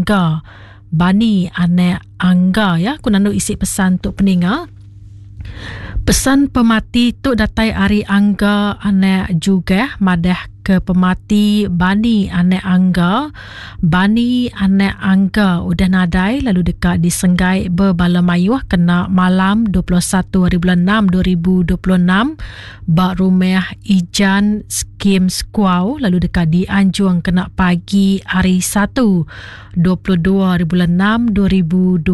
Angga. Bani anak Angga ya ku nandu isi pesan tu peninga. Pesan pemati tu datai ari Angga anak Jugah madah ke pemati Bani anak Angga. Bani anak Angga udah nadai lalu deka disenggai bebala mayuh kena malam 21 hari bulan 6 2026 ba rumah Ijan Skim Sekuau lalu deka dianjung kena pagi hari Satu 22 hari bulan 6 2026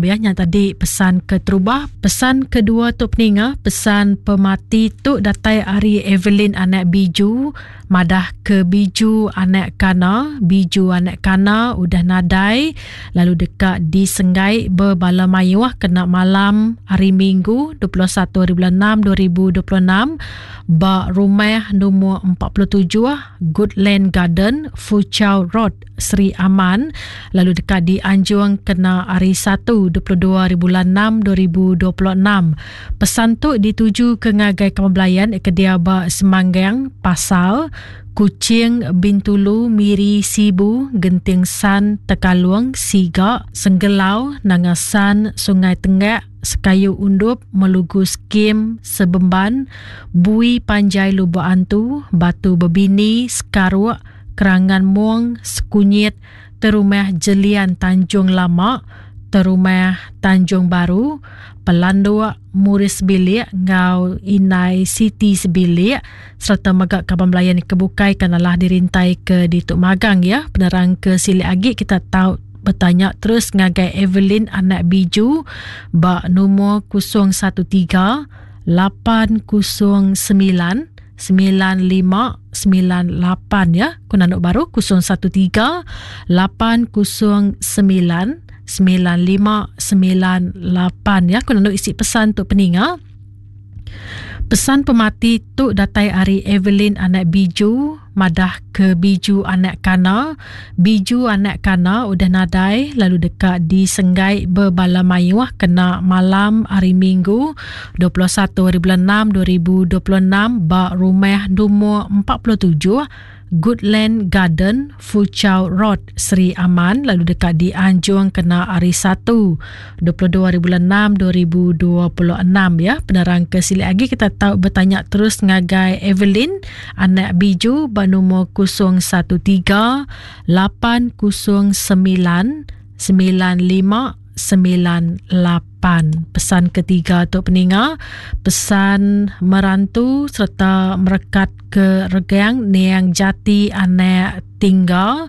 ya nya tadi pesan keterubah. Pesan kedua tu peninga, pesan pemati tu datai ari Evelyn anak Biju madah ke Biju anak Kana, Biju anak Kana udah nadai lalu deka disenggai bebala mayuh kena malam hari Minggu 21 hari bulan 6 2026 ba rumah lumur 47 Goodland Garden, Foochow Road, Sri Aman lalu deka dianjung kena hari Satu 22 hari bulan 6 2026. Pesan tu dituju ke ngagai kaban belayan ke diau ba Semanggang, Pasal, Kuching, Bintulu, Miri, Sibu, Genting San, Tekalong, Siga, Senggelau, Nanga San, Sungai Tenggak, Sekayu Undup, Melugu Skim, Sebemban, Bui Panjai Lubok Antu, Batu Bebini, Sekaruk, Kerangan Mong, Sekunyit, Terumah Jelian Tanjung Lama, Terumah Tanjung Baru, Pelanduk, Muris Sebilik enggau Indai Siti Sebilik sereta mega kaban belayan ke bukai ke nalah dirintai ke ditu magang ya. Penerang ke silik agi kita tau betanya terus ngagai Evelyn anak Biju ba numur 013 809 9598 ya. Ku nanduk baru 013 809 9598 ya. Ku nanduk isi pesan tu peninga. Pesan pemati tu datai ari Evelyn anak Biju madah ke Biju anak Kana. Biju anak Kana udah nadai lalu deka disenggai bebala mayuh kena malam hari Minggu 21 hari bulan 6 2026 ba rumah lumur 47 Goodland Garden, Foochow Road, Sri Aman lalu deka dianjung kena hari Satu, 22 hari bulan 6 2026 ya. Penerang ke silik agi kita tau betanya terus ngagai Evelyn anak Biju ba numur 013 809 95 98. Pesan ketiga tu peninga, pesan merantu sereta merekat ke regang niang jati anak tingga.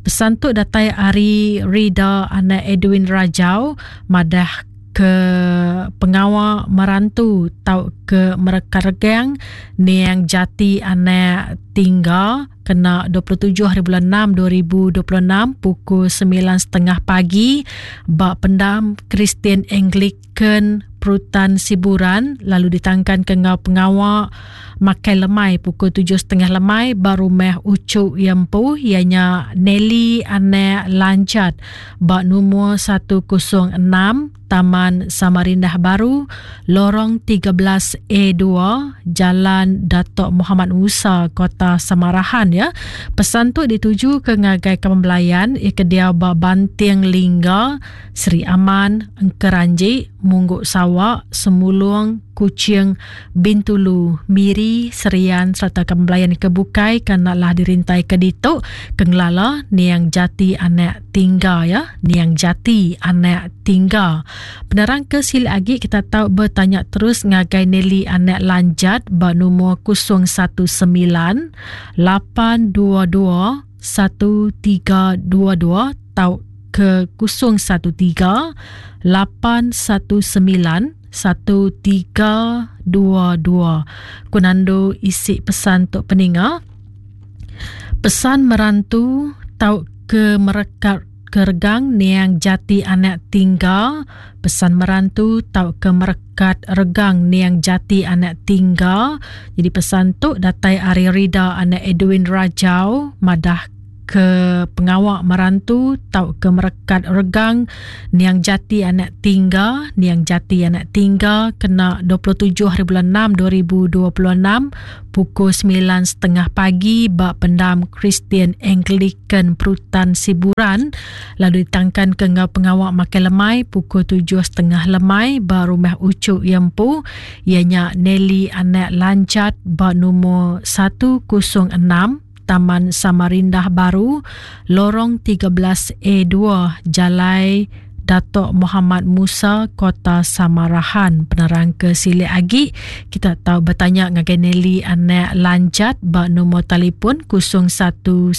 Pesan tu datai ari Rida anak Edwin Rajau madah ke pengawa merantu tau ke merekat regang niang jati anak tingga kena 27 hari bulan 6 2026 pukul 9.30 pagi ba pendam Kristian Anglican Perutan Siburan lalu ditangkan ke enggau pengawa makai lemai pukul 7.30 lemai ba rumah Uchu iya empu iya nya Nelly Anak Lancat ba numur 106 Taman Samarindah Baru, Lorong 13 A2, Jalan Dato Muhammad Musa, Kota Samarahan ya. Pesan tu dituju ke ngagai kaban belayan iya ke diau ba Banting Lingga, Sri Aman, Engkeranji, Munggu Sawa, Semulung, Kuching, Bintulu, Miri, Serian sereta kaban belayan ke bukai ke enda lah dirintai ke ditu ke ngelala niang jati anak tingga ya, niang jati anak tingga. Penerang ke silik agi kita tau betanya terus ngagai Nelly anak Lanjat ba numur 019 822 1322 tau ke 013 819 1322. Ku nandu isi pesan tu peninga. Pesan merantu tau ke merekat ke regang niang jati anak tingga. Pesan merantu tau ke merekat regang niang jati anak tingga. Jadi pesan tu datai ari Rida anak Edwin Rajau madah. ke pengawa merantu tauka merekat regang niang jati anak tingga niang jati anak tingga kena 27 hari bulan 6 2026 pukul 9.30 pagi ba pendam Kristian Anglican Perutan Siburan lalu ditangkan ke enggau pengawa makai lemai pukul 7.30 lemai ba rumah Uchu iya empu iya nya Nelly anak Lanjat ba numur 106 Taman Samarindah Baru, Lorong 13 A2, Jalai Datuk Muhammad Musa, Kota Samarahan. Penerang ke silik agi, kita tau betanya ngagai Nelly anak Lanjat ba nombor telefon 019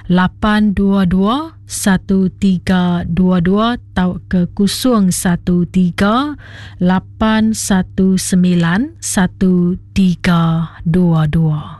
822 1322 tauka 013 819 1322.